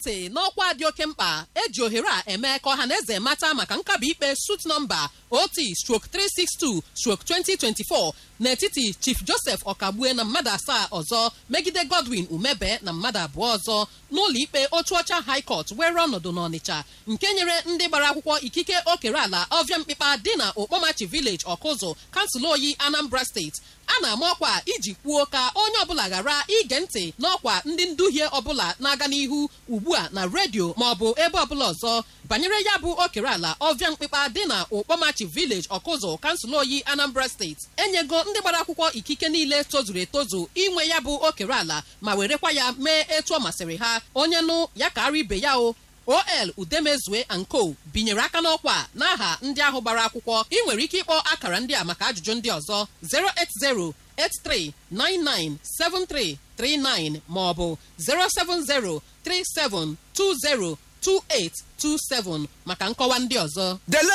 Ntị n'ọkwa dị oke mkpa eji ohere a eme ka ọha na eze mata maka nkabi ikpe suit nọmba OT/362/2024 n'etiti Chief Joseph Ọkagbue na mmadụ 7 ọzọ megide Godwin Umebe na mmadụ 2 ọzọ n'ụlọ ikpe Otuocha High Court were ọnọdụ n'Ọnịcha, nke nyere ndị gbara akwụkwọ ikike okere ala Ọvịa Mkpịkpa dị na Okpomachi Village, Ọkụzụ, kansụl Oyi, Anambra Steeti. A na-ama ọkwa iji kwuo ka onye ọbụla ghara ige ntị n'ọkwa ndị nduhie ọbụla na-aga n'ihu ugbu a na redio maọbụ ebe ọbụla ọzọ banyere ya bụ okere ala Ọvịa Mkpịkpa dị na Okpomachi Village, Ọkụzụ, kansụl Oyi, Anambra Steeti. Enyego ndị gbara akwụkwọ ikike niile tozuru etozu inwe ya bụ okere ala ma werekwa ya mee etu ọ masịrị ha. Onye nụ ya ka ara ibe ya. O OL Udemezue and Co binyere aka n'ọkwa n'aha ndị ahụ gbara akwụkwọ. Ị nwere ike ịkpọ akara ndị a maka ajụjụ ndị ọzọ: 08083997339 maọbụ 07037202827 maka nkọwa ndị ọzọ. Dele.